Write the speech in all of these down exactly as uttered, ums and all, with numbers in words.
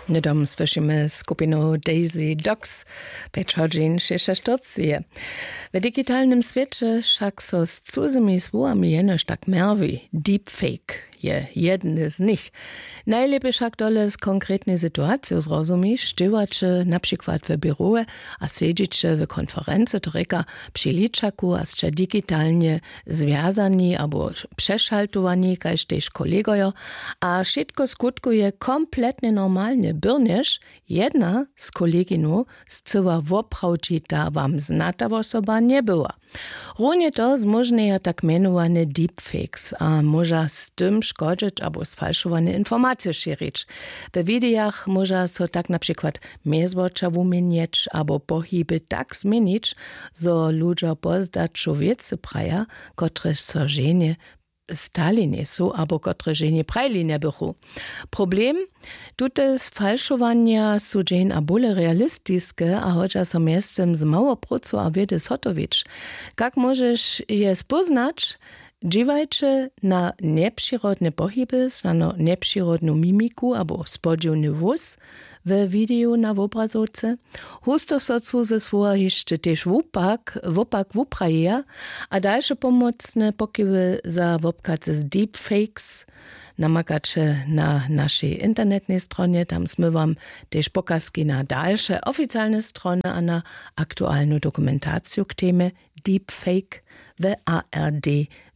Hnydom słyšimy skupinu Daisy Dogs. Pjeć hodźin šěsćaštyrceje. W digitalnym swěće wšak so z cuzymi słowami jenož tak mjerwi. Deepfake je jedne z nich. Najlěpje wšak tole z konkretnej situaciju zrozumiš, dźěłaće na přikład w běrowe a sedźiće w konferency, to rěka, při ličaku a sće digitalnje zwjazani abo přešaltowani kaž tež kolegojo, a wšitko skutkuje kompletnje normalnje byrnjež jedna z koleginow scyła woprawdźita wam znata wosoba njebyła. Runje to zmóžnjeja tak mjenowane deepfakes a móža z tym škodźeć abo sfalšowane informacije šěrić. We widejach móža so tak na přikład mjezwoča wuměnjeć abo pohiby tak změnić, zo ludźo pozdaću wěcy praja, kotrež so ženje stali njejsu abo kotrež ženje prajili njebychu. Problem: tute falšowanja su dźeń a bóle realistiske a hodźa so mjeztym z mało prócu a wědy zhotowić. Kak móžeš je spóznać? Dźěłajće na njepřirodne pohiby, snano njepřirodnu mimiku abo spodźiwny hłós we wideju na wobrazowce. Husto so cuze słowa hišće tež wupak wopak wuprajeja. A dalše pomocne pokiwy za wobkacy z deepfakes namakaće na našej internetnej stronje, tam smy wam tež pokazki na dalše oficialne strony a na aktualnu dokumentaciju k temje deepfake w ard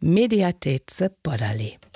mediatece podali.